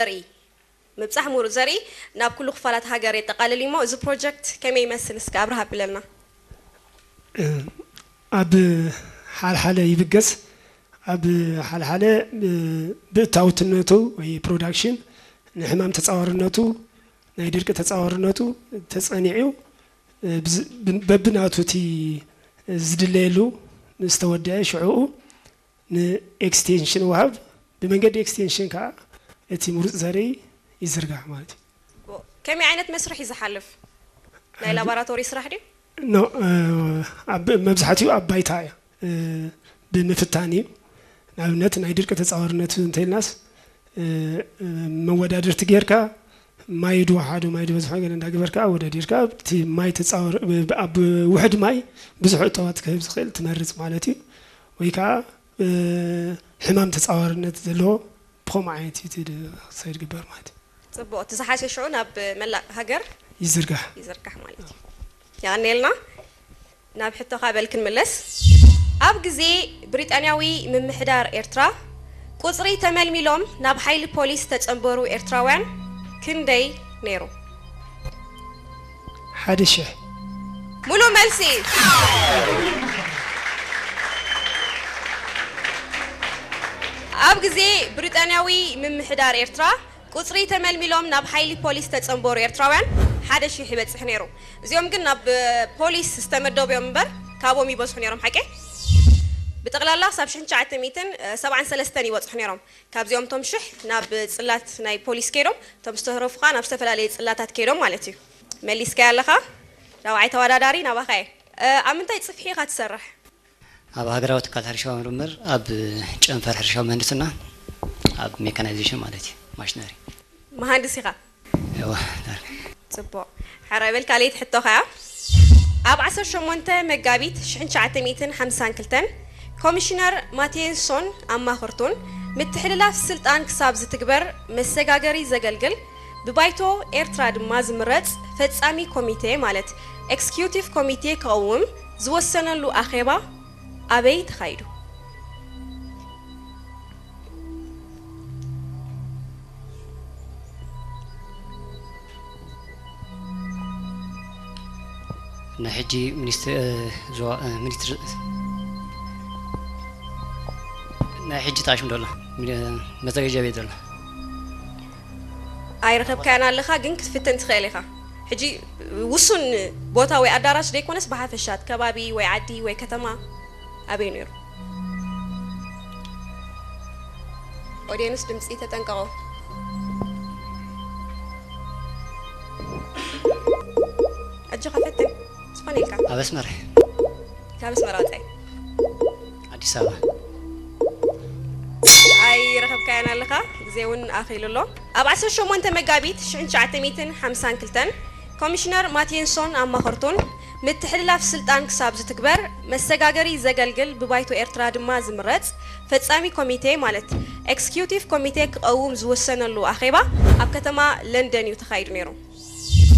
ዘርኢ፣ ምብጻሕ ምሩጽ ዘርኢ ናብ ኩሉ ክፋላት ሃገር የጠቓልል እዩ እሞ፣ እዚ ፕሮጀክት ከመይ ይመስል? እስከ ኣብርሃ ኣብለልና። ኣብ ሓልሓለ ይብገስ። ኣብ ሓልሓለ ብእታውትነቱ ወይ ፕሮዳክሽን ንሕማም ተጻዋርነቱ፣ ናይ ድርቂ ተጻዋርነቱ ተጸኒዑ፣ ብዝ-፣ ብ-፣ በብናቱ እቲ ዝድለየሉ ምስ ተወደአ ሽዕኡ ንኤክስቴንሽን ወሃብ፣ ብመንገዲ ኤክስቴንሽን ከዓ እቲ ምሩፅ ዘርኢ ይዝርጋሕ ማለት እዩ። ከመይ ዓይነት መስርሕ እዩ ዝሓልፍ? ናይ ላቦራቶሪ ስራሕ ድዩ? ኖ፣ ኣብ መብዛሕትኡ ኣብ ባይታ እያ። ብምፍታን እዩ። ንኣብነት ናይ ድርቂ ተፃዋርነት እንተኢልናስ፣ መወዳድርቲ ጌርካ ማይ ድወሓዶ ማይ ድበዝሖ ገለ እንዳገበርካ ኣወዳዲርካ፣ እቲ ማይ ተፃወር ኣብ ውሕድ ማይ ብዙሕ እተዋት ክህብ ዝኽእል ትመርፅ ማለት እዩ። ወይ ከዓ ሕማም ተፃዋርነት ዘለዎ ብኸምኡ ዓይነት እዩ እቲ ክሳይድ ግበር ማለት እዩ። ፅቡቕ፣ እቲ ዝሓሸ ሽዑ ናብ መላእ ሃገር ይዝርጋሕ። ይዝርጋሕ ማለት እዩ። የቐንየልና። ናብ ሕቶኻ በል ክንምለስ። ኣብ ግዜ ብሪጣንያዊ ምምሕዳር ኤርትራ ቁጽሪ ተመልሚሎም ናብ ሓይሊ ፖሊስ ዝተጸንበሩ ኤርትራውያን ክንደይ ነይሩ? ሓደ ሽሕ። ሙሉእ መልሲ። ኣብ ግዜ ብሪጣንያዊ ምምሕዳር ኤርትራ ቁጽሪ ተመልሚሎም ናብ ሓይሊ ፖሊስ ዝተጸንበሩ ኤርትራውያን ሓደ ሺሕ ይበጽሕ ነይሩ። እዚኦም ግን ናብ ፖሊስ ዝተመደቡ እዮም እምበር ካብኦም ይበዝሑ ነይሮም። ሓቂ ብጠቕላላ ክሳብ ሽሕን ትሽዓተ ሚእትን ሰብዓን ሰለስተን ይበጽሑ ነይሮም። ካብዚኦም እቶም ሽሕ ናብ ጽላት ናይ ፖሊስ ከይዶም፣ እቶም ዝተረፉ ከዓ ናብ ዝተፈላለየ ጽላታት ከይዶም ማለት እዩ። መሊስካያ ኣለኻ። ራብዓይ ተወዳዳሪ ናባኻ እየ። ኣብ ምንታይ ጽፍሒ ኢኻ ትሰርሕ? ኣብ ሃገራዊ ትካል ሕርሻዊ ምርምር ኣብ ጨንፈር ሕርሻዊ ምህንድስና ኣብ ሜካናይዜሽን ማለት እዩ ማሽነሪ። መሃንድስ ኢኻ? እወ። ጽቡቕ። ሕራይ በል ካልኣይቲ ሕቶኻ እያ። ኣብ ዓሰርተ ሸሞንተ መጋቢት ሽሕን ትሽዓተ ሚእትን ሓምሳን ክልተን ኮሚሽነር ማቴንሶን ኣማኸርቱን ምትሕልላፍ ስልጣን ክሳብ ዝትግበር መሰጋገሪ ዘገልግል ብባይቶ ኤርትራ ድማ ዝምረጽ ፈጻሚ ኮሚቴ ማለት ኤክስኪዩቲቭ ኮሚቴ ክቐውም ዝወሰነሉ ኣኼባ ኣበይ ተኻይዱ? ናይ ሕጂ ሚኒስትሪ ዞባ ሚኒስትሪ ናይ ሕጂ ጣሽም ዘሎ መዘጋጃ ቤት ዘሎ ኣይረኸብካያን ኣለኻ፣ ግን ክትፍትን ትኽእል ኢኻ። ሕጂ ውሱን ቦታ ወይ ኣዳራሽ ዘይኮነስ ብሓፈሻ እቲ ከባቢ ወይ ዓዲ ወይ ከተማ ኣበይ ነይሩ? ኦድየንስ ድምፂ ተጠንቀቑ። ኣጆኻ ፈትን ዝኾነ ኢልካ። ኣብ ኣስመራ። ካብ ኣስመራ ወፃኢ። ኣዲስ ኣበባ። ኣይረኸብካያን ኣለኻ፣ ግዜ እውን ኣኺሉ ኣሎ። ኣብ ዓሰርተ ሸሞንተ መጋቢት ሽሕን ትሽዓተ ሚእትን ሓምሳን ክልተን ኮሚሽነር ማቴንሶን ኣማኸርቱን ምትሕልላፍ ስልጣን ክሳብ ዝትግበር መሰጋገሪ ዘገልግል ብባይቶ ኤርትራ ድማ ዝምረጽ ፈጻሚ ኮሚቴ ማለት ኤክስኪዩቲቭ ኮሚቴ ክቐውም ዝወሰነሉ ኣኼባ ኣብ ከተማ ለንደን እዩ ተኻይዱ ነይሩ።